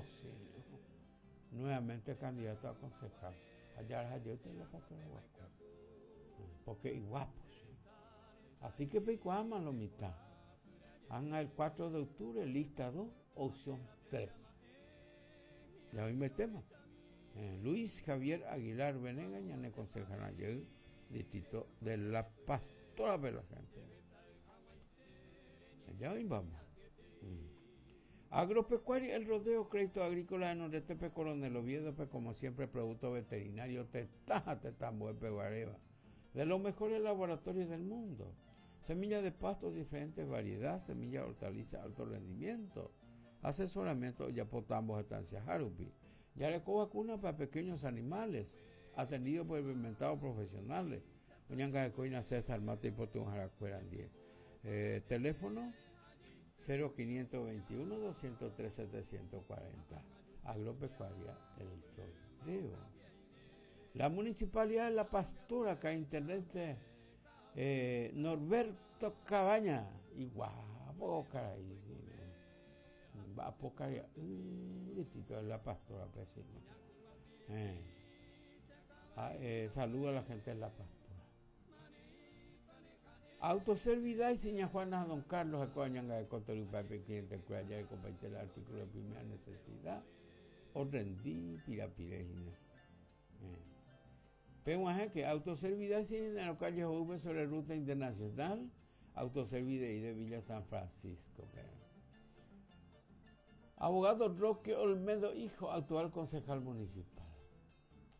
Guapo, sí. Nuevamente candidato a concejal. Allá yo la pastora guapo. Porque guapo, sí. Así que peikuaáma lo mitad. Anga el 4 de octubre, lista 2, opción 3. Ya hoy me tema. Eh, Luis Javier Aguilar Venegas, ñane concejal ayer, distrito de La Pastora de la gente. Ya hoy vamos. Mm. Agropecuaria, el rodeo, crédito agrícola de Noreste, Coronel Oviedo, pues, como siempre, producto veterinario, tetaja, tetambo, peguareva, de los mejores laboratorios del mundo. Semilla de pastos, diferentes variedades, semilla de hortaliza, alto rendimiento. Asesoramiento, ya potambos, estancia Harupi. Yareco vacuna para pequeños animales, atendido por inventados profesionales. Oñanga de Coina César Mate y Potún Jaracuera 10. Eh, teléfono 0521 203 740. Agropecuaria El Rodeo. La Municipalidad de La Pastora, acá intendente eh, Norberto Cabaña. Y guapo, caray, Va a pocar distrito de La Pastora, pues, eh. Ah, eh, saluda a la gente de La Pastora. Autoservidad y seña Juana Don Carlos Acoñanga de Cotorupa, cliente cuya de compartir el artículo de primera necesidad. O rendí pirapirejina. Eh. Pero que autoservidad en la calle V sobre ruta internacional, autoservidad y de Villa San Francisco. Abogado Roque Olmedo, hijo, actual concejal municipal.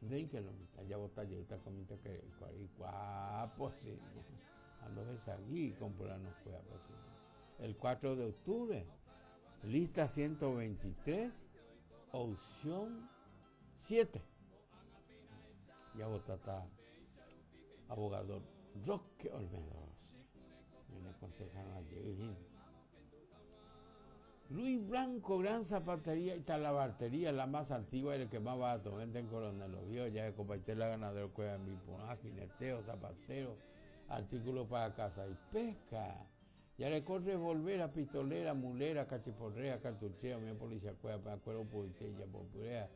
De que lo mitad, ya bota yo está comiendo que guapo, sí. Ando aquí con no pues, El 4 de octubre, lista 123, opción 7. Ya vota abogado Roque Olmedo. Me aconsejaron ayer. Luis Blanco, gran zapatería y talabartería, la más antigua y el que más barato vende en Coronel Oviedo, ya de compartir la ganadera cueva en mi jineteo, zapatero, artículos para casa y pesca. Ya le corre volver a pistolera, mulera, cachiporrea, cartucheo, mi policía cueva, para cuero puritella, popurea.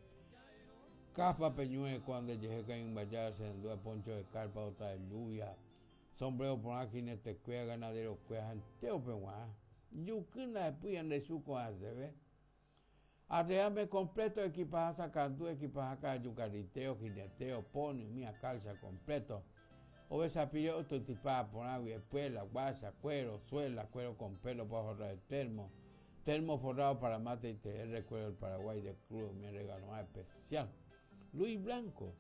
Capa peñue cuando llegué que en vallar, se poncho de carpa, otra de lluvia, sombrero por jinete cueva, ganadero cueva, anteo peguá. Yukuna después en su ve. Arreame completo, equipaje sacando, equipaje acá, yucariteo, jineteo, pony, mía calza completo. Esa pide otro tipo por agua, espuela, guasa, cuero, suela, cuero con pelo para forrar el termo, termo forrado para mate y TR, cuero del Paraguay de Cruz, mi regalo especial. Luis Blanco,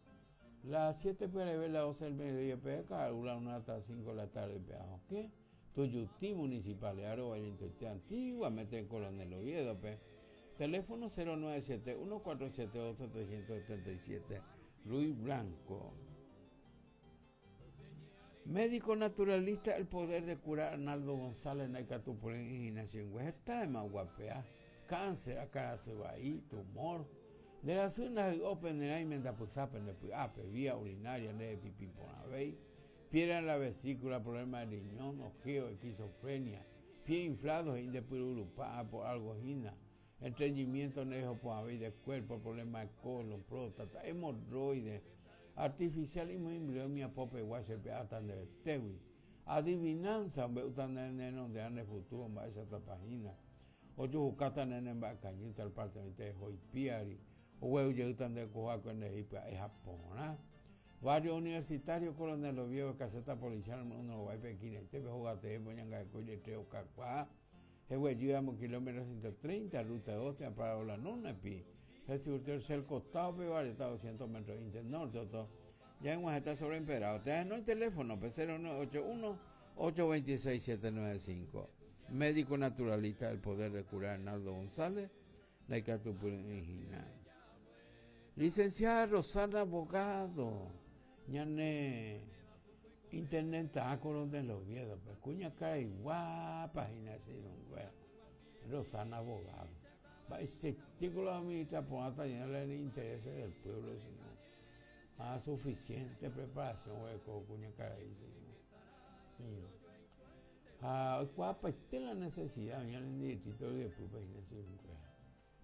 las 7 PRB, las 12 del mediodía, PK, una hasta las 5 de la tarde, ¿qué? Tuyutí Municipal, Aro, antiguamente en Coronel Oviedo, pe. Teléfono 097 1472 377 Luis Blanco. Médico naturalista, el poder de curar Arnaldo González, Naicatupolín y Ignacio Está de más guapea. Cáncer, acá se va ahí, tumor. De la zona de Open, de vía urinaria, de pipí por piedra en la vesícula, problema de riñón, ojeo, esquizofrenia, pie inflado, indepurupá, por algojina, estreñimiento nejo por de cuerpo, problema de colon, próstata, hemorroides, artificial y muy mi pope guase peatan del tewi, adivinanza, utan de ane futuro, ma esa página, ocho jucata nene cañita al parte de hoipiari, o huevo de cojaco en el es Japón, Varios universitarios Coronel Oviedo, caseta policial, uno va a Pequín, te jugate, poñanga de colle, treo, cacuá, jewe, llegamos kilómetro 130, ruta 2, te para la nona, pi. Jesús, el costado, pe, vale, está 200 metros norte, todo. Ya en está sobreimperado. Te no el teléfono, pe, 0981 826 795. Médico naturalista del poder de curar Arnaldo González, la Licenciada Rosana Abogado ñane internet de los Oviedo, pues cuña cara y guapa bueno, Rosana Abogado. Va ese título administra por hasta el intereses del pueblo, sino a suficiente preparación cuña cara y Ah, guapa, esta es la necesidad, ñane distrito de pueblo,